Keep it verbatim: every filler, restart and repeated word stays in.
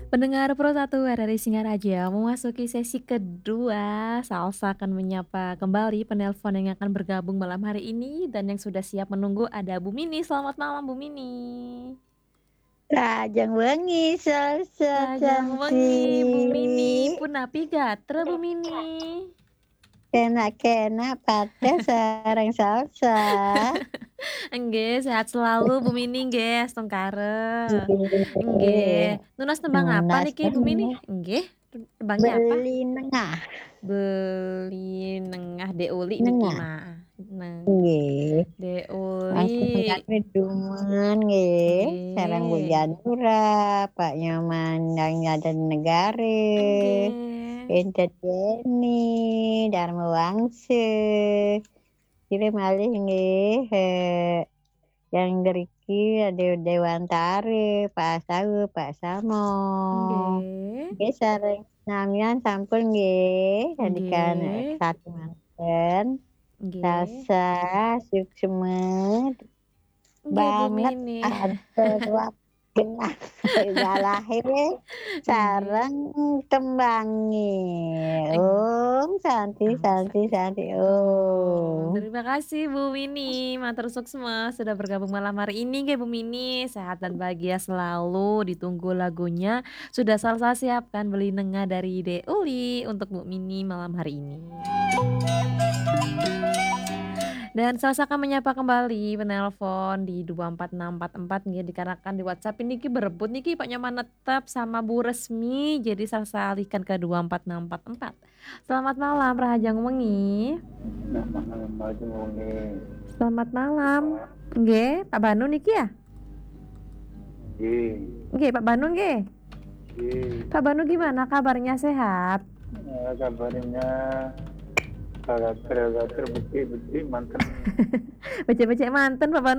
Pendengar Pro satu R R I Singaraja, memasuki sesi kedua, Salsa akan menyapa kembali penelpon yang akan bergabung malam hari ini, dan yang sudah siap menunggu ada Bu Mini. Selamat malam, Bu Mini. Rahajeng wengi, Salsa. Rahajeng wengi, Bu Mini. Punapi gatra, Bu Mini? Kenak-kenak pateh sareng Salsa. Nggih, sehat selalu, Bu Mini, nggih, astungkara. Nggih. Nggih. Nunas tembang apa Nunas niki, Bu Mini? Tembang. Nggih. Tembangnya apa? Beli Nengah. Beli Nengah, Dek Uli niki, Nengah. Ma. Nah. Nggih. Dek Uli. Langsung kami dumun, nggih. Nggih. Sareng Bu Janura, Pak Nyoman, Dang Jaden Negare. Nggih. Enten Yeni, Dharma Wangse. Kira malih, nggih, eh, yang ngriki Dew-, Dewantare, Pak Sawu, Pak Samo. Nggih. Nggih, sareng samian sampun, nggih. Sandikan, nggih, eh, satu manten. Nggih. Salsa, suksma. Nggih, Bu Mini. Banget ada ruap genah galahe sareng tembange. Nggih. Om Santi, Om Santi, Santi, Santi, Om. Om. Terima kasih, Bu Mini. Matur suksma sudah bergabung malam hari ini, nggih, Bu Mini. Sehat dan bahagia selalu. Ditunggu lagunya. Sudah Salsa siapkan, Beli Nengah dari Dek Uli untuk Bu Mini malam hari ini. Dan Salsa akan menyapa kembali penelpon di dua empat enam empat empat, nggih, dikarenakan di WhatsApp ini ki berebut niki, Pak Nyoman Netep sama Bu Resmi. Jadi Salsa alihkan ke dua empat enam empat empat. Selamat malam, rahajeng wengi. Selamat malam, rahajeng wengi. Selamat malam. Nggih, Pak Banu niki ya? Nggih. Nggih, Pak Banu nggih. Nggih. Pak Banu gimana kabarnya, sehat? Eh, kabarnya gager-gager, becik-becik manten. Becik-becik manten, Pak Banu.